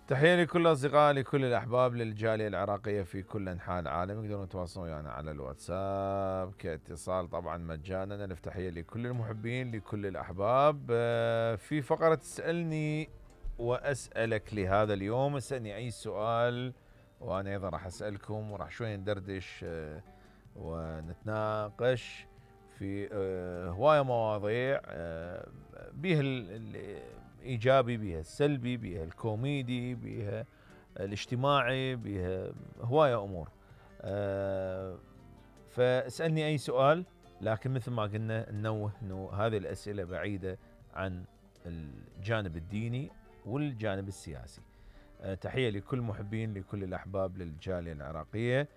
تحية لكل الأصدقاء، لكل الأحباب، للجالية العراقية في كل أنحاء العالم. يقدرون يتواصلون ويانا على الواتساب كاتصال طبعا مجانا. ألف تحية لكل المحبين، لكل الأحباب. في فقرة تسألني وأسألك لهذا اليوم. اسألني أي سؤال وأنا أيضا راح أسألكم، وراح شوية ندردش ونتناقش في هواية مواضيع، بيها الإيجابي، بيها السلبي، بيها الكوميدي، بيها الاجتماعي، بيها هواية أمور. فاسألني أي سؤال، لكن مثل ما قلنا ننوه أنه هذه الأسئلة بعيدة عن الجانب الديني والجانب السياسي. تحية لكل محبين، لكل الأحباب، للجالية العراقية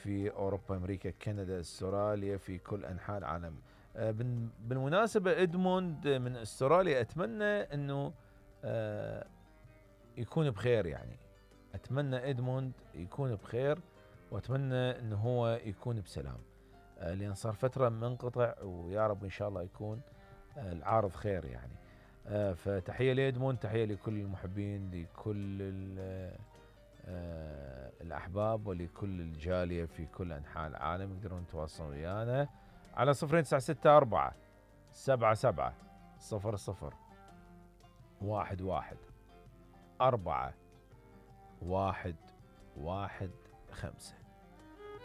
في أوروبا، أمريكا، كندا، استراليا، في كل أنحاء العالم. بالمناسبة إدموند من استراليا، أتمنى أنه يكون بخير. يعني أتمنى إدموند يكون بخير، وأتمنى أنه هو يكون بسلام، لأن صار فترة منقطع، ويا رب إن شاء الله يكون العارض خير يعني. فتحية لإدموند، تحية لكل المحبين، لكل الأحباب، ولكل الجالية في كل أنحاء العالم. يقدرون يتواصلون ويانا على 0264 77 00 11 4 1 1 5.